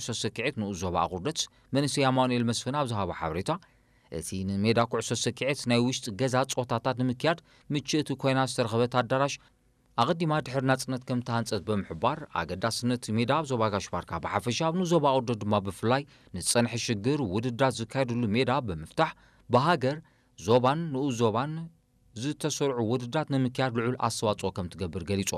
ኩዕሶ ሰኪዔት ንኡስ ዞባ ኣቑርደት መንእሰይ ኣማኑኤል መስፍን ኣብ ዝሃቦ ሓበሬታ፣ እቲ ንሜዳ ኩዕሶ ሰኪዔት ናይ ውሽጢ ገዛ ጾታታት ንምክያድ ምችእቲ ኮይና ዝተረኸበት ኣዳራሽ ኣቐዲማ ድሕሪ ናጽነት ከም ተሃንጸት ብምሕባር፣ ኣገዳስነት ሜዳ ኣብ ዞባ ጋሽ ባርካ ብሓፈሻ ኣብ ንኡስ ዞባ ኣቑርደት ድማ ብፍላይ ንዝጸንሐ ሽግር ውድድራት ዝካየድሉ ሜዳ ብምፍታሕ ብሃገር፣ ዞባን ንኡስ ዞባን ዝተሰርዑ ውድድራት ንምክያድ ልዑል ኣስተዋጽኦ ከም ትገብር ገሊጹ።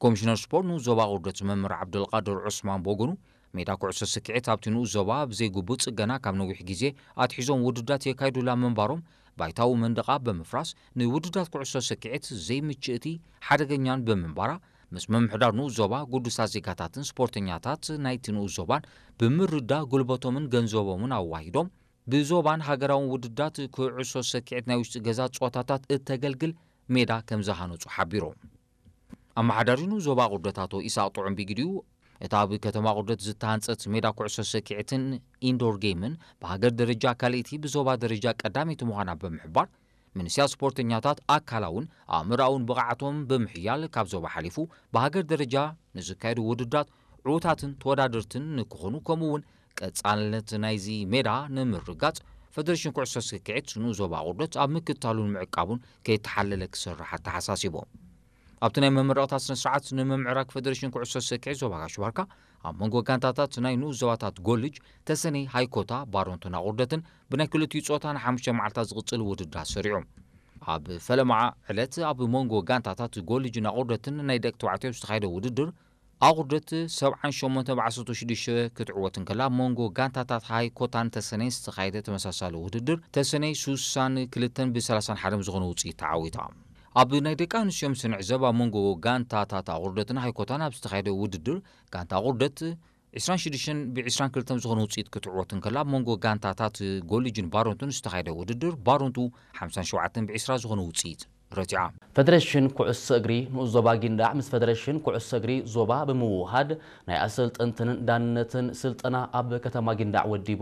ኮሚሽነር ስፖርት ንኡስ ዞባ ኣቑርደት መምህር ዓብደልቃድር ዑስማን ብወገኑ፣ ሜዳ ኩዕሶ ሰኪዔት ኣብቲ ንኡስ ዞባ ብዘይግቡእ ጽገና ካብ ነዊሕ ግዜ ኣትሒዞም ውድድራት የካይዱላ ምንባሮም፣ ባይታዊ መንደቓ ብምፍራስ ንውድድራት ኩዕሶ ሰኪዔት ዘይምችእቲ፣ ሓደገኛን ብምንባራ፣ ምስ ምምሕዳር ንኡስ ዞባ፣ ግዱሳት ዜጋታትን ስፖርተኛታት ናይቲ ንኡስ ዞባን ብምርዳእ፣ ጉልበቶምን ገንዘቦምን ኣዋሂዶም ብዞባን ሃገራውን ውድድራት ኩዕሶ ሰኪዔት ናይ ውሽጢ ገዛ ጸወታታት እተገልግል ሜዳ ከም ዝሃነጹ ሓቢሮም። ኣመሓዳሪ ንኡስ ዞባ ኣቑርደት ኣቶ ኢሳቕ ጥዑም ብግዲኡ፣ እታ ኣብ ከተማ ኣቑርደት ዝተሃንጸት ሜዳ ኩዕሶ ሰኪዔትን ኢንዶር ጌምን ብሃገር ደረጃ ካልኣይቲ፣ ብዞባ ደረጃ ቀዳመይቲ ምዃና ብምሕባር፣ ምንስያ ስፖርተኛታት ኣካላውን ኣእምሮኣውን ብቕዓቶም ብምሕያል ካብ ዞባ ሓሊፉ ብሃገር ደረጃ ንዝካየዱ ውድድራት ዕዉታትን ተወዳደርትን ንክኾኑ፣ ከምኡ እውን ቀጻልነት ናይዚ ሜዳ ንምርጋጽ፣ ፈደሬሽን ኩዕሶ ሰኪዔት ንኡስ ዞባ ኣቑርደት ኣብ ምክትታሉን ምዕቃቡን ከይተሓለለ ክሰርሕ ኣተሓሳሲቦም። ኣብቲ ናይ መመረቕታ ስነ ስርዓት፣ ንምምዕራግ ፈደሬሽን ኩዕሶ ሰኪዔት ዞባ ጋሽ ባርካ ኣብ መንጎ ጋንታታት ናይ ንኡስ ዞባታት ጎልጅ፣ ተሰነይ፣ ሃይኮታ፣ ባሮንቶን ኣቑርደትን ብናይ ክልቲኡ ጾታ ንሓሙሽተ መዓልታት ዝቕጽል ውድድር ኣሰሪዑ። ኣብ ፈለማ ዕለት ኣብ መንጎ ጋንታታት ጎልጅን ኣቑርደትን ናይ ደቂ ተባዕትዮ ዝተኻየደ ውድድር፣ ኣቑርደት ሰብዓን ሸሞንተ ብዓሰርተ ሽዱሽተ ክትዕወት እንከላ፣ ኣብ መንጎ ጋንታታት ሃይኮታን ተሰነይን ዝተኻየደ ተመሳሳሊ ውድድር፣ ተሰነይ ሱሳን ክልተን ብሰላሳን ሓደን ብዝኾነ ውጽኢት ተዓዊታ። ኣብ ናይ ደቂ ኣንስትዮ ምስ ንዕዘብ፣ ኣብ መንጎ ጋንታታት ኣቑርደትን ሃይኮታን ኣብ ዝተኻየደ ውድድር፣ ጋንታ ኣቑርደት ዒስራን ሽዱሽተን ብዒስራን ክልተን ዝኾነ ውጽኢት ክትዕወት እንከላ፣ ኣብ መንጎ ጋንታታት ጎልጅን ባሮንቱን ዝተኻየደ ውድድር፣ ባሮንቱ ሓምሳን ሸውዓተን ብዒስራ ዝኾነ ውጽኢት ረቲዓ። ፈደሬሽን ኩዕሶ እግሪ ንኡስ ዞባ ጊንዳዕ ምስ ፈደሬሽን ኩዕሶ እግሪ ዞባ ብምውሃድ ናይ ኣሰልጠንትን ዳንነትን ስልጠና ኣብ ከተማ ጊንዳዕ ወዲቡ።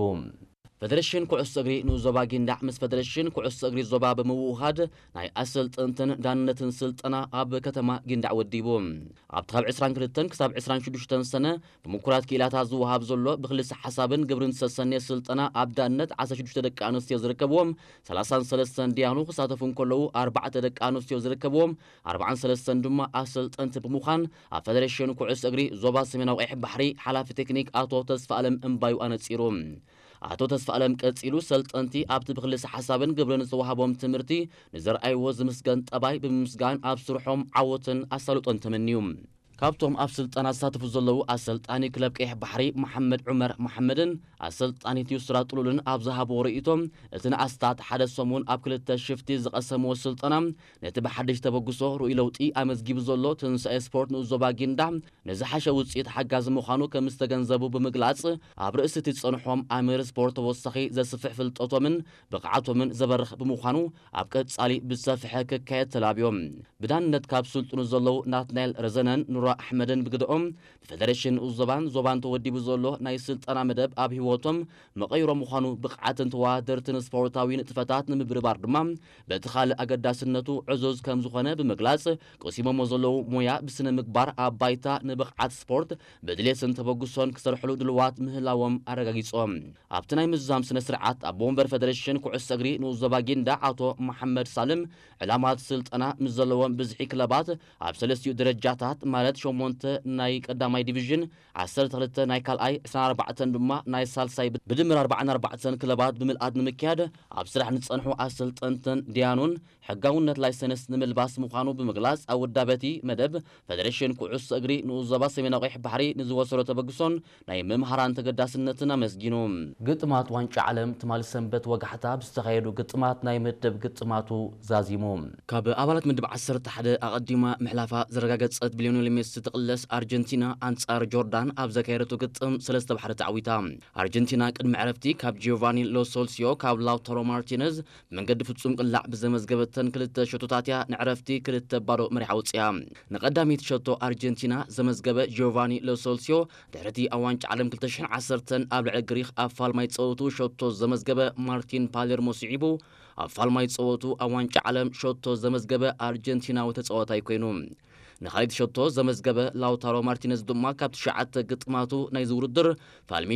ፈደሬሽን ኩዕሶ እግሪ ንኡስ ዞባ ጊንዳዕ ምስ ፈደሬሽን ኩዕሶ እግሪ ዞባ ብምውሃድ ናይ ኣሰልጠንትን ዳንነትን ስልጠና ኣብ ከተማ ጊንዳዕ ወዲቡ። ኣብቲ ካብ ዕስራን ክልተን ክሳብ ዕስራን ሽዱሽተን ሰነ ብምኩራት ክኢላታት ዝወሃብ ዘሎ ብክልሰ ሓሳብን ግብርን ዝተሰነየ ስልጠና ኣብ ዳንነት ዓሰርተ ሽዱሽተ ደቂ ኣንስትዮ ዝርከብዎም ሰላሳን ሰለስተን ዲያኑ ክሳተፉ እንከለዉ ኣርባዕተ ደቂ ኣንስትዮ ዝርከብዎም ኣርባዓን ሰለስተን ድማ ኣሰልጠንቲ ብምዃን ኣብ ፈደሬሽን ኩዕሶ እግሪ ዞባ ሰሜናዊ ቀይሕ ባሕሪ ሓላፊ ቴክኒክ ኣቶ ተስፋ ኣለም እምባዩ ኣነጺሩ። ኣቶ ተስፋ ኣለም ቀጺሉ ሰልጠንቲ ኣብቲ ብክልሰ ሓሳብን ግብርን ዝተዋህቦም ትምህርቲ ንዘርኣይዎ ዝምስገን ጠባይ ብምምስጋን ኣብ ስርሖም ዓወትን ኣሳልጦን ተመንዩ። ካብቶም ኣብ ስልጠና ዝሳተፉ ዘለዉ ኣሰልጣኒ ክለብ ቀይሕ ባሕሪ መሓመድ ዑመር መሓመድን ኣሰልጣኒት ዩስራ ጥሉልን ኣብ ዝሃብዎ ርእይቶ፣ እቲ ንኣስታት ሓደ ሰሙን ኣብ ክልተ ሽፍቲ ዝቐሰምዎ ስልጠና ነቲ ብሓድሽ ተበግሶ ርኡይ ለውጢ ኣመዝጊቡ ዘሎ ትንሳኤ ስፖርት ንኡስ ዞባ ጊንዳዕ ንዝሓሸ ውፅኢት ሓጋዚ ምዃኑ ከም ዝተገንዘቡ ብምግላፅ፣ ኣብ ርእሲ እቲ ዝፀንሖም ኣምር ስፖርት ተወሳኺ ዘስፍሕ ፍልጠቶምን ብቕዓቶምን ዘበርኽ ብምዃኑ ኣብ ቀፃሊ ብዝሰፍሐ ክካየድ ተላብዮም። ብዳንነት ካብ ስልጥኑ ዘለዉ ናትናኤል ረዘነን ኑራ ኣሕመድን ብግደኦም፣ ብፈደሬሽን ንኡስ ዞባን ዞባን ተወዲቡ ዘሎ ናይ ስልጠና መደብ ኣብ ህይወቶም መቐይሮ ምዃኑ፣ ብቕዓትን ተወዳደርትን ስፖርታዊ ንጥፈታት ንምብርባር ድማ በቲ ካልእ ኣገዳስነቱ ዕዙዝ ከም ዝኾነ ብምግላጽ፣ ቀሲሞሞ ዘለዉ ሞያ ብስነ ምግባር ኣብ ባይታ ንብቕዓት ስፖርት ብድሌትን ተበግሶን ክሰርሕሉ ድልዋት ምህላዎም ኣረጋጊጾም። ኣብቲ ናይ ምዝዛም ስነ ስርዓት ኣቦ ወንበር ፈደሬሽን ኩዕሶ እግሪ ንኡስ ዞባ ጊንዳዕ ኣቶ መሓመድ ሳልም፣ ዕላማት ስልጠና ምስ ዘለዎም ብዝሒ ክለባት ኣብ ሰለስቲኡ ደረጃታት ማለት ሸሞንተ ናይ ቀዳማይ ዲቪዥን፣ ዓሰርተ ክልተ ናይ ካልኣይ፣ ዕስራን ኣርባዕተን ድማ ናይ ሳልሳይ ብድምር ኣርባዓን ኣርባዕተን ክለባት ብምልኣት ንምክያድ ኣብ ስራሕ ንዝጸንሑ ኣሰልጠንትን ዲያኑን ሕጋውነት ላይሰንስ ንምልባስ ምዃኑ ብምግላጽ፣ ኣብ ውዳበቲ መደብ ፈደሬሽን ኩዕሶ እግሪ ንኡስ ዞባ ሰሜናዊ ቀይሕ ባሕሪ ንዝወሰዶ ተበግሶን ናይ መምሃራን ተገዳስነትን ኣመስጊኑ። ግጥማት ዋንጫ ዓለም ትማሊ ሰንበት ወጋሕታ ብዝተኻየዱ ግጥማት ናይ ምድብ ግጥማቱ ዛዚሙ። ካብ ኣባላት ምድብ ዓሰርተ ሓደ ኣቐዲማ ምሕላፋ ዘረጋገጸት ብሊዮኔል ሜሲ ትቕለስ ኣርጀንቲና ኣንጻር ጆርዳን ኣብ ዘካየደቶ ግጥም ሰለስተ ብሓደ ተዓዊታ። ኣርጀንቲና ቅድሚ ዕረፍቲ ካብ ጂዮቫኒ ሎሶልሲዮ ካብ ላውታሮ ማርቲነዝ ብመንገዲ ፍጹም ቅላዕ ብዘመዝገበተን ክልተ ሸቶታት እያ ንዕረፍቲ ክልተ ባዶ መሪሓ ወጺኣ። ንቐዳመይቲ ሸቶ ኣርጀንቲና ዘመዝገበ ጂዮቫኒ ሎሶልሲዮ፣ ድሕሪ እቲ ኣብ ዋንጫ ዓለም ክልተ ሽሕን ዓሰርተን ኣብ ልዕሊ ግሪኽ ኣብ ፋልማይ ጸወቱ ሸቶ ዘመዝገበ ማርቲን ፓሌርሞ ስዒቡ፣ ኣብ ፋልማይ ጸወቱ ኣብ ዋንጫ ዓለም ሸቶ ዘመዝገበ ኣርጀንቲናዊ ተጻዋታይ ኮይኑ። ንኻልኣይቲ ሸቶ ዘመዝገበ ላውታሮ ማርቲነዝ ድማ ካብ ትሽዓተ ግጥማቱ ናይዚ ውድድር ፋልሚ